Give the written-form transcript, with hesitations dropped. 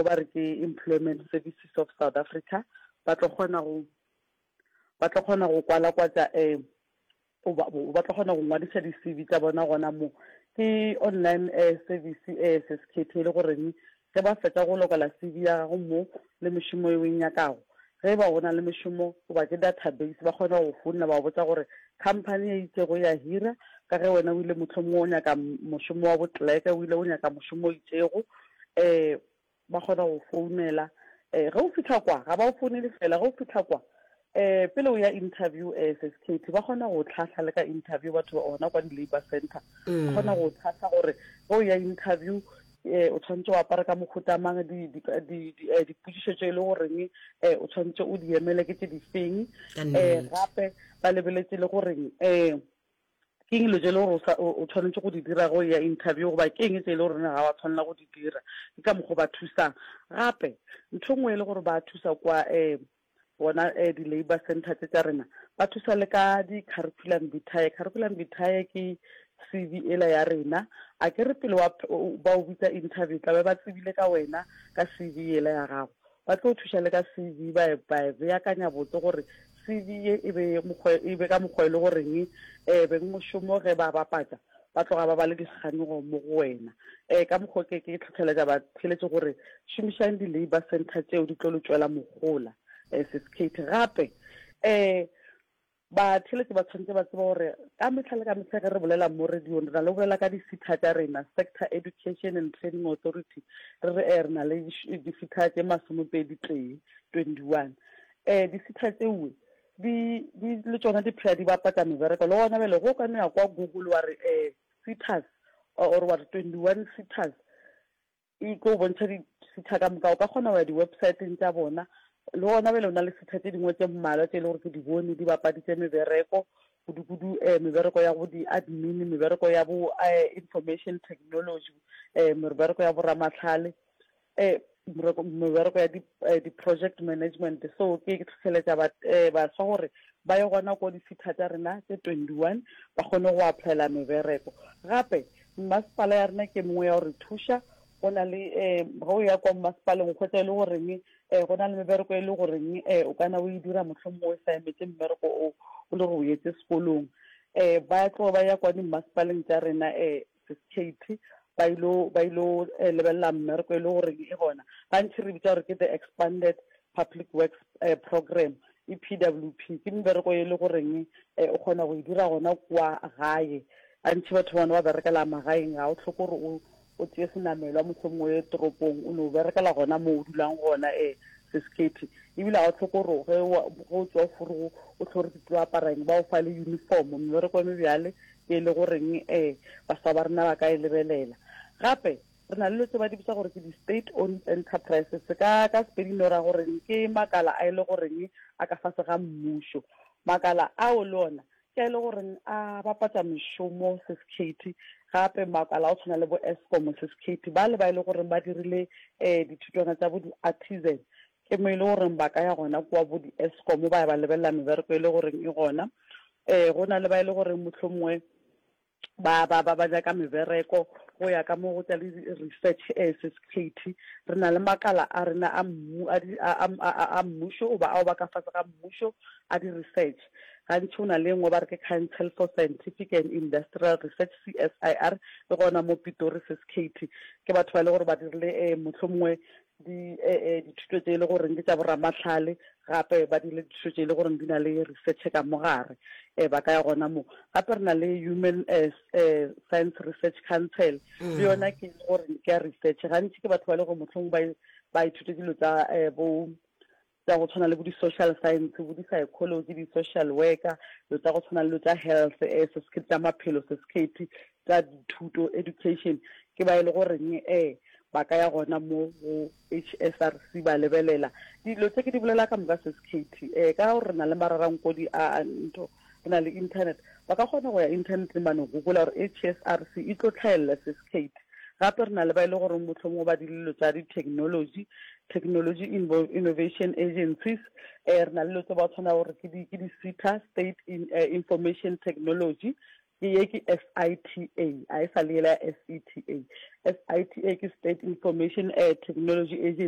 nngwe ba re ke Employment Services of South Africa, ba tlo kgona go ba tlo kgona go kwalakwatša um ba tlo kgona go ngwadiša di-C_V tša bona gona mo. Ke online service SSKT e le goreng ge ba fetša go lokela C_V ya gago mo le mešomo e o e nyakago, ge e ba o na le mešomo goba ke database ba kgona go go founela ba go botša gore company e itšego ya hira ka ge wena o ile mohlomongwe o nyaka mošomo wa bo-clerk, o ile o nyaka mošomo o itšego um ba kgona go founela. Ge o fihla kwa, ga ba o founele fela, ge o fihla kwa um pele o ya interview SSKT ba kgona go tlhahla le ka interview batho ba gona kwa di-labour center. Ba kgona go tlhahla gore ge o ya interview um o tshwanetse o apare ka mohuta mang, dipotšišo tše e le goreng um o tshwanetse o di emele ke tše di feng. Um gape ba lebeletše le goreng um Ke eng dilo tše e le gore o tshwanetše go di dira ge o eya interview goba ke eng tše e le gore ga wa tshwanela go di dira? Ke ka mokgwa o ba thusang. Gape ntho e nngwe e le gore ba thusa kwa um bona um di-labour center tše tša rena, ba thusa le ka di-curriculum vitae. Curriculum vitae ke C_V ela ya rena. A ke re pele wa ba o bitsa interview tla be ba tsebile ka wena ka C_V ela ya gago. Ba tlo thuša le ka CV ba e ba e beakanya botse gore CV ye e be mokgwa e be ka mokgwa e le goreng eh bengmošomo ge ba bapatša ba tloga ba ba le dikganyogo mo go wena. Eh ka mokgwa ke ke tlhotlheletša batheeletši gore šomišang di-labour centre tšeo di tlo le tšwela mohola. Eh Sis Kate gape eh Batheeletši ba tshwanetše ba tseba gore ka mehla le ka mehla ge re bolela mo radiong re na le go bolela ka di-SETA tša rena, Sector Education and Training Authority, re re ee re na le di-SETA tše masomepedi tee, 21. Ee, di-SETA tšeoe di, di, le tšona di phela di bapatša mebereko. Le gona bjale ge o ka no ya kwa Google wa re ee SETAs or wa re 21 SETAs, E tlo bontšha di-SETA ka moka. O ka kgona go ya di-websiteng tša bona. Le gona bjale o na le SETA tše dingwe tše mmalwa tše e le gore ke di bone di bapaditše mebereko, kudu-kudu mebereko ya bo di-admin, mebereko ya bo information technology, mebereko ya boramahlale, mebereko ya di-project management. So ke hlohleletša baswa gore ba ye gona ko di-SETA tša rena tše 21 ba kgone go applyela mebereko. Gape Mmasepala ya rena ke mongwe ya go re thuša. Go na le um ge o ya kwa mmasepaleng o hwetša e le goreng um go na le mebereko e le goreng um o kana o e dira mohlomongwe o sa emetse mmereko o o le gore o etse sekolong. Um ba tlo ba ya kwa dimmasepaleng tša rena um Sis Kate ba ilo ba ilo lebelela mmereko e le goreng e gona. Gantši re bitša gore ke the expanded public works program, EPWP, ke mebereko e le goreng o kgona go e dira gona kwa gae. Gantši batho bona ba berekela magaeng, ga o hloke gore o o tšee senamelwa mohlomongwe o ye toropong, o no berekela gona mo o dulang gona e Sis Katie. Ebile ga o hloke gore ge o tšwa forogo o hlore ke tlo apara eng, ba o fa le uniform. Mebereko e mebjale ke e le goreng um baswa ba rena ba ka e lebelela. Gape re na le dilo tse ba di bitsa gore ke di-state owned enterprises, ka ka Sepedi no ra goreng ke makala a e le goreng a ka fase ga mmušo. Makala ao le ona ke a e le goreng a bapatša mešomo Sis Katie, gape makala a go tshwana le bo Eskom Sis Katie, ba le ba e le goreng ba dirile um dithutwana tša bo di-artisan, ke mo e le goreng ba ka ya gona kua bo di-Eskom ba ya ba lebelela mebereko e le goreng e gona. Um go na le ba e le goreng mohlomongwe ba ba ba ba nyaka mebereko go ya ka mo go tša le research eh, Sis Katie, re na le makala a rena a mmu a di a a a mmušo goba ao ba ka fase ga mmušo a di research. Gantši go na le e nngwe ba re ke Council for Scientific and Industrial Research, CSIR, e gona mo Pitori Sis Katie. Ke batho ba e le gore ba dirile eh, mohlomongwe di dithuto tše e le goreng ke tša boramahlale, gape ba dirile dithuto tše e le goreng di na le research ka mo gare, ba ka ya gona mo. Gape re na le Human Science Research Council, le yona ke e le goreng ke ya research. Gantši ke batho ba e le gore mohlomongwe ba ba ithutetse dilo tsa bo tša go tshwana le bo di-social science, bo di-psychology, di-social worker, dilo tša go tshwana le dilo tša health, se tša maphelo, se tša dithuto, education, ke ba e le goreng um ba ka ya gona mo go H_S_R_C ba lebelela. Dilo tše ke di bolela ka moka Sis Katie, um ka gore re na le mararankodi a a ntho, re na le internet, ba ka kgona go ya inthaneteng ba no google-a gore H_S_R_C e tlo hlaelela Sis Katie. Gape re na le ba e le goreng mohlomongwe ba dilo tša di-technology, Technology Innovation Agencies, um re na le dilo tse ba tshwana gore ke di ke di-SETA, State in, Information Technology, ke ye ke SITA, a e sa le yela ya SETA. SITA ke State Information Technology Agency.